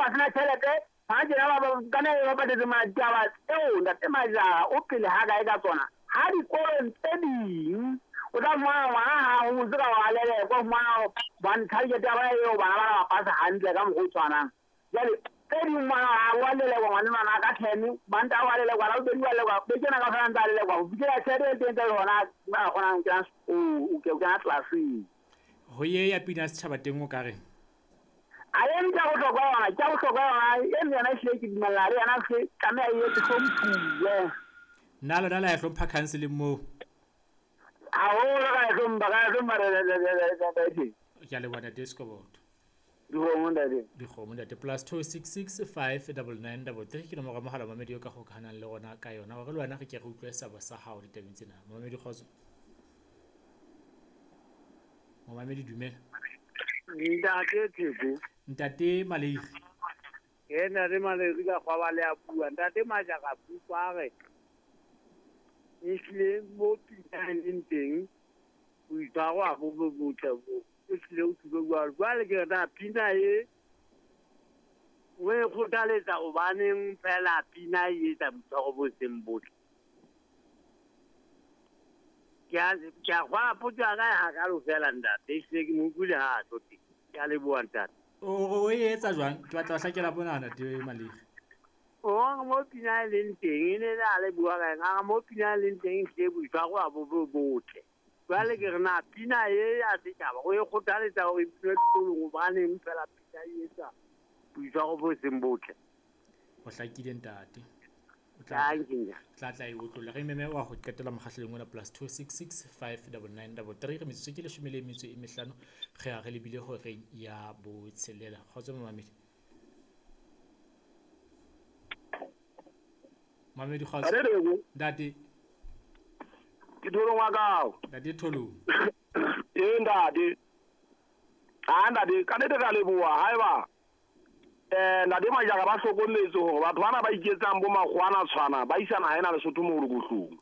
ba sena tjhelete ha tjena ba kana ba patetse mataba tseo ntate Majara o pele ha kae ka tsona ha dikolong tse ding o tla fumana ngwana ha ho tse ka wa lelekwa fumana ba target ya ba eo bana ba ba pasa hantle ka mokgwa o tshwanang. Jwale tse ding ngwana ha wa lelekwa ngwana ngwana ka 10 ba nta wa lelekwa la bobedi wa lelekwa be kena ka fela ntsa lelekwa ho fitlhela tjhelete e teng tsa hona ba kgonang kena o ke kena classeng. Ho ye ya pina setjhaba teng o ka reng? A e nka bohlokwa yona, ke bohlokwa yona e yona e hlile ke dumella le yona se tlameha e etse hlomphuwe. Nna lona la e hlompha counseling moo? Haholo ka e hlompha, ka e hlompha re. Ke a leboha ntate Sekoboto. Dikgomo ntate. Dikgomo ntate. +266 599 33 ke nomoro ya mohala mamedi eo ka kgokahanang le rona ka yona hore le wena re ke re utlwe seabo sa hao ditabeng tsena. Momamedi kgotso. Momamedi dumela. Ntate Theko. Ntate Maleiri. Ke ntate Maleiri ka kgwaba le a bua. Ntate Majara bua re. Ehlile mo pina e leng teng boitshwaro ha bo bo botle bo. Ehlile o tlile bua jwale ke re pina e o e kgothaletsa hobaneng fela pina e etsa boitshwaro bo seng botle. Ke a kgwala potso ya ka hakalo fela ntate. Ehlile ke mo utlwile ha a tlo teng. Ke a leboha ntate. O e etsa jwang? Ke batla ho hlakela bona ntate Maleiri. O mo pina e leng teng e ne a le bua ka eng a mo pina e leng teng ehlile boitshwaro ha bo bo botle. Jwale ke re na pina e ya setjhaba o e kgothaletsa hore e binwe dikolong hobaneng fela pina e etsa boitshwaro bo seng botle. O hlakile ntate. O tla tla e otlolla. Re meme wa ho qetela mokgahlelong ona +266 599 33 re metsotso ke 15 re a re lebile horeng ya botshelela. Kgotso momamedi. Mamedi kgotso. Ntate. Ke Tholong wa kao. Ntate Tholong. Ee ntate. Ha ntate ka nnete ka leboha haeba ntate Majara ba hlokometse hore batho bana ba iketsang bo makgowana tshwana ba isa naha ena Lesotho molokohlong.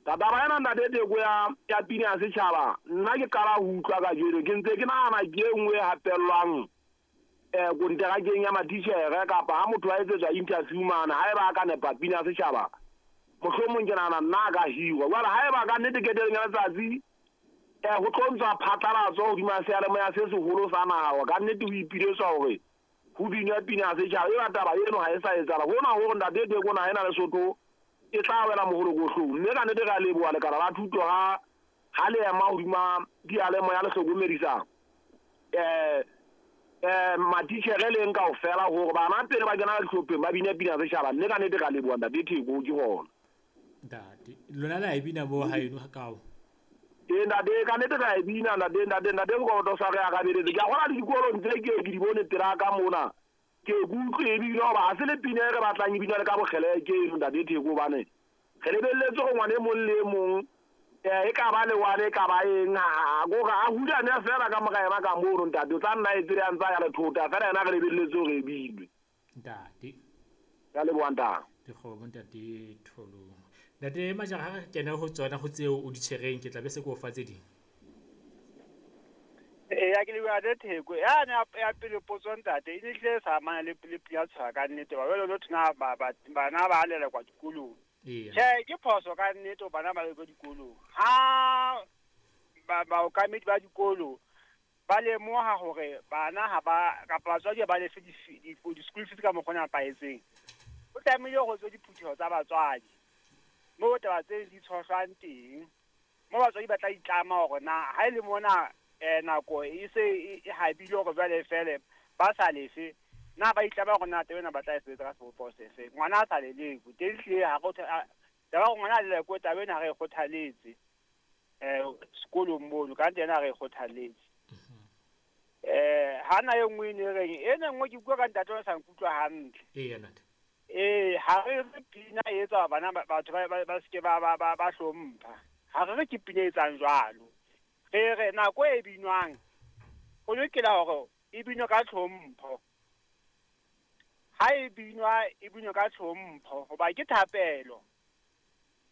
Taba ena ntate Theko ya pina ya setjhaba nna ke qala ho utlwa kajeno ke ntse ke nahana ke e nngwe e hapellwang konterakeng ya matitjhere kapa ha motho a etsetswa interview mane haeba a ka nepa pina ya setjhaba mohlomong ke nahana nna a ka hirwa. Jwale haeba ka nnete ketelong ya letsatsi ho tlo ntshwa phatlalatso hodima seyalemoya se seholo sa naha ka nnete ho ipiletswa hore ho binwa pina ya setjhaba eba taba eno ha e sa etsahala hona hore ntate Theko naha ena Lesotho e tla wela moholokohlong. Mme ka nnete re a leboha lekala la thuto ha le ema hodima diyalemoya le hlokomedisa matitjhere leng kaofela hore bana pele ba kena dihlopheng ba bine pina ya setjhaba. Mme ka nnete re a leboha ntate Theko ke hona. Ntate lona la e bina mo haeno kao? Ee ntate ka nnete ra e bina ntate ntate Sekoboto sa re arabeletse. Ke a kgona le dikolong tse ke di bone pela ka mona ke utlwe e bile hoba ha se le pina e re batlang e binwa le ka bokgeleke eno ntate Theko hobane re lebelletse hore ngwana e mong le e mong e ka ba lewane e ka ba eng kore a hulane fela ka mora yena ka mono ntate o tla nna e tsebe a ntsa ya lethota fela yena re lebelletse hore e binwe. Ntate. Ka leboha ntate. Dikgomo ntate Tholong. Ntate Majara ha re kena ho tsona ho tseo o di tshwereng ke tla be se ke o fa tse ding. Eya ke leboha ntate Theko. Yane ya pele potso ntate e ne hlile sa amana le pina tshwara ka nnete ba jwale lo thona bana ba lelekwa dikolong. Tjhe ke phoso ka nnete bana ba lelekwa dikolong. Ha baokamedi ba dikolo ba lemoha hore bana ha ba kapa batswadi ba lefe di-school fees ka mokgwa o nepahetseng. Ho tlamehile ho tswe diphutheho tsa batswadi moo taba tse di tshohlwang teng moo batswadi ba tla itlama hore na ha e le mona nako e se e habile hore jwale fele ba sa lefe na ba itlama hore na taba ena ba tla e sebetsa ka sebopeho sefe. Ngwana a sa lelekwe teng hlile ha re taba hore ngwana a lelekwe taba ena ha re e kgothaletse sekolong mono ka nnete ena ha re e kgothaletse. Ha na e nngwe e ne reng ena nngwe ke bua ka ntate o sa nkutlwa hantle. Eya ntate. Ha re re pina e etsa bana batho ba seke ba hlompha. Ha re re ke pina e etsang jwalo. Re re nako e binwang ho lokela hore e binwe ka tlhompho. Ha e binwa e binwe ka tlhompho hoba ke thapelo.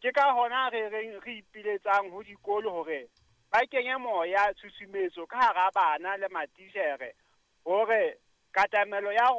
Ke ka hona re reng re ipiletsang ho dikolo hore ba kenye moya tshusumetso ka hara bana le matitjhere hore katamelo ya